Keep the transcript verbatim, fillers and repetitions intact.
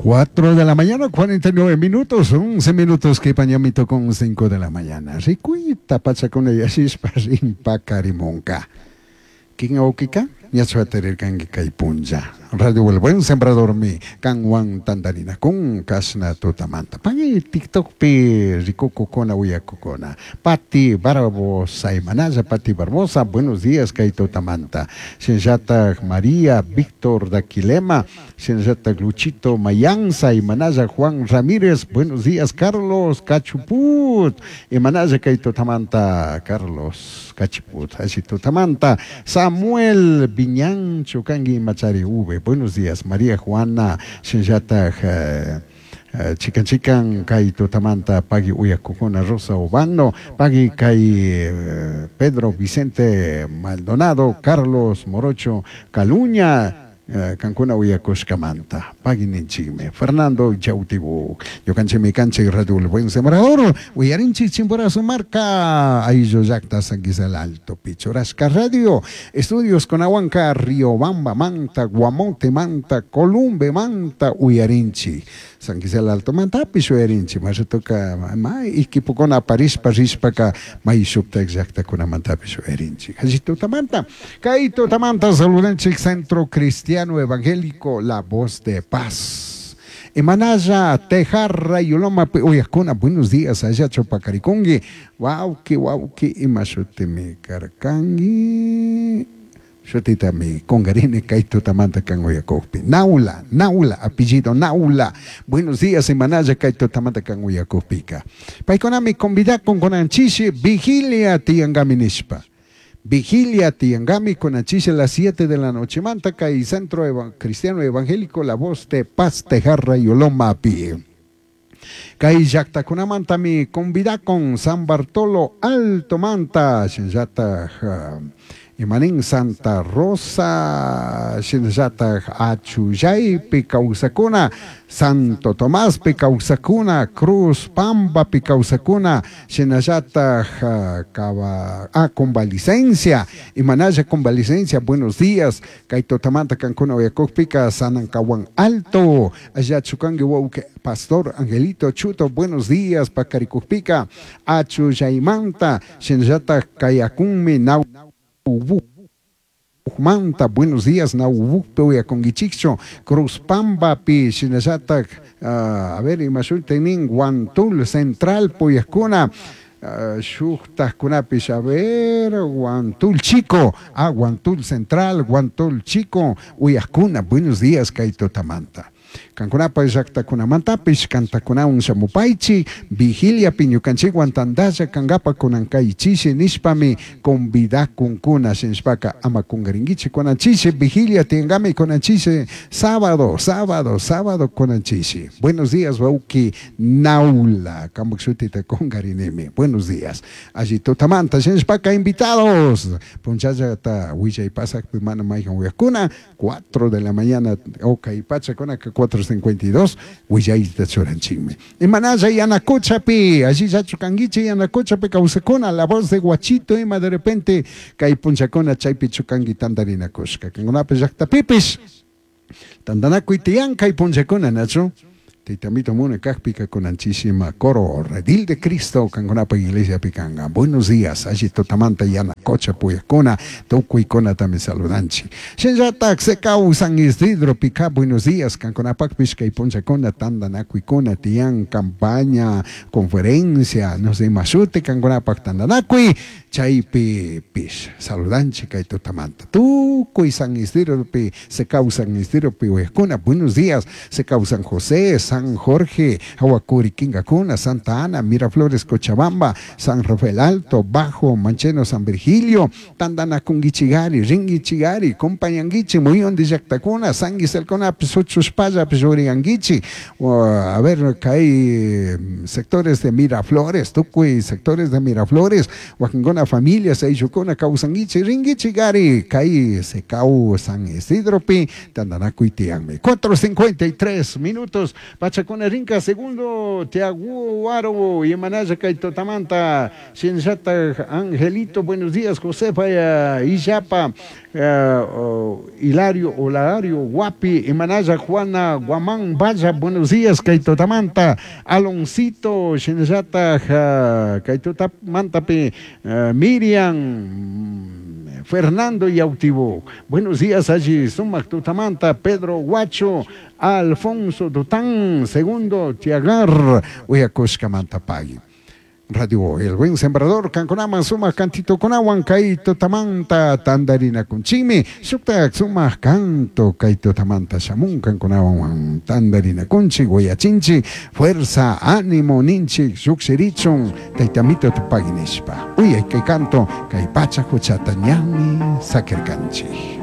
Cuatro de la mañana, cuarenta y nueve minutos, once minutos que pañamito con cinco de la mañana. Ricuita pachacuna yashispa rimpakarimunka. ¿Quién aukika? Ñachuaterirkanki kay punlla. Radio El Buen Sembrador mi kanwan tandarina kun kasna tutamanta. Pagui TikTok pi rikukukuna uyakukuna. Pati Barbosa Imanaya, Pati Barbosa, buenos días kay tutamanta. Shinllatak María Víctor Daquilema, Shinllatak Luchito Mayanza, Imanaya Juan Ramírez, buenos días Carlos Cachuput, Imanaya kay tutamanta Carlos Cachuput, así tutamanta Samuel Viñán Chucangui Machari V, buenos días María Juana Shinllatak eh, eh, chican chican kay tutamanta pagui uyakukuna Rosa Obando, pagui kay eh, Pedro Vicente Maldonado, Carlos Morocho Caluña, eh, kankuna uyakushkamanta pagui ninchikmi Fernando Chautibu ñukanchikmi kanchik Radio El Buen Sembrador uyarinchik Chimborazo marca ayllu llaqta San Gisel Alto Pichurashka Radio Estudios Conahuanca Riobamba Manta Guamote Manta Columbe Manta uyarinchik San Gisel Alto Mantapish uyarinchik mashatuka may equipokuna aparishpa rishpaka may shuktak llaqtakunamantapish uyarinchik hallitutamanta kay tutamanta saludanchik Centro Cristiano Evangélico La Voz de Paz. Imanaya, Tejarra, Yuloma, Uyakuna, buenos días, allá Chopacaricongi, wauki, wauki, imashutimi karkangi, shutitami, congarine, kaitutamanta, kanguyakopi, Naula, Naula, apellido Naula, buenos días, Imanaya, kaitutamanta, kanguyakopika. Paikonami, convida con conanchishi, vigilia, tiangaminishpa. Vigilia Tiangami con a las siete de la noche. Mantaca y Centro Eva Cristiano Evangélico La Voz de Paz Tejarra y Oloma Pi. Kay llaqtakunamantami convida con San Bartolo Alto Manta, shinllataj imanin Santa Rosa, shinllataj Achullaypi kawsakuna, Santo Tomás pi kawsakuna, Cruz Pamba pi kawsakuna, shinallataj kaba ah, convalicencia, imanaya convalicencia, buenos días, kay tutamanta kankuna uyakukpika Sanancahuán Alto, allá chukangi wauke Pastor Angelito Chuto, buenos días, pakarikukpika, Achullaymanta, shinallataj kayakunmi nau Manta, buenos días, Naubukpe uyakunkichikchu, Cruz Pamba pi, shinallatak, uh, a ver, imashutinin, Guantul Central puyakuna, uh, shuktajkunapish, a ver, Guantul Chico, ah, Guantul Central, Guantul Chico, uyakuna, buenos días, kay tutamanta. Kankunapa llaqtakunamantapish kantakunawan shamupaychi vigilia piñukanchikwan tantalla kankapa kunankaychishi nishpami convidakunkuna shinshpaka ama kunkarinkichik kunanchishi vigilia tinkami kunanchishi sábado, sábado, sábado kunanchishi. Buenos días wauki Naula, kampak shutita kunkarinimi. Buenos días. Allí tutamanta shinshpaka invitados. Punchallata willay pasakpi mana mayhan uyakuna cuatro de la mañana okay pachakunaka cuatro cincuenta y dos, willayta churanchikmi. Imanaya Yanacochapi, allí ya chukanguichi Yanacochapi kawsakuna, la voz de Guachito, ima de repente kay punchakuna chaypi chukangi tandarinakushka. Kankunapi llaqtapipis, tantanakuy tiyan kay punchakuna, nachu? Teitamito muna kakpika kunanchisima coro redil de Cristo kankunapa iglesia pikanga. Buenos días, allí tutamanta Yanacocha puyakuna, tukuykuna también saludanchi. Shinllatak sekau San Isidro pika, buenos días, kankunapakpish kay punchakuna tandanakuykuna tiyan campaña, conferencia, no sé, mashute kankunapak tandanakuy, chaypi pish, saludanchi kay tutamanta. Tukuy San Isidro pi, sekau San Isidro pi uyakuna, buenos días, sekau San José, San Jorge, Aguacuri, Quingacuna, Santa Ana, Miraflores, Cochabamba, San Rafael Alto, Bajo, Mancheno, San Virgilio, Tandanakunguichigari, Ringuichigari, Compañanguichi, Muyón de Yactacuna, San Giselcona, Pisochuspaya, Pisurianguichi, a ver, hay sectores de Miraflores, Tucuy, sectores de Miraflores, Huajingona, familia, Seyucona, Causanguichi, Ringuichigari, Cai, Secau, San Isidro, Pi, Tandanacuitianme. cuatro cincuenta y tres minutos. Pachakuna rinka segundo Tiaguaro imanalla kay tutamanta shinallatak Angelito buenos días Josefa Illapa Hilario Olario Guapi imanalla Juana Guamán Valla buenos días kay tutamanta Aloncito shinallatak kay tutamantapi Miriam Fernando Yautivo. Buenos días allí, Sumac Tutamanta, Pedro Guacho, Alfonso Dután, segundo Tiagar, Uyakushkamanta Pagui. Radio El Buen Sembrador, Kankunaman, Sumac Cantito Kunawan, Kaito Tamanta, Tandarina Kunchimi, Shuktak Sumac Canto, Kaito Tamanta, Shamun, Kankunawan, Tandarina Kunchi, Guayachinchi, Fuerza, Ánimo, Ninchi, Shukshirichun, Taitamito Tupaginishpa. Uy, kay canto, kay pacha huchata ñami, Sakirkanchi.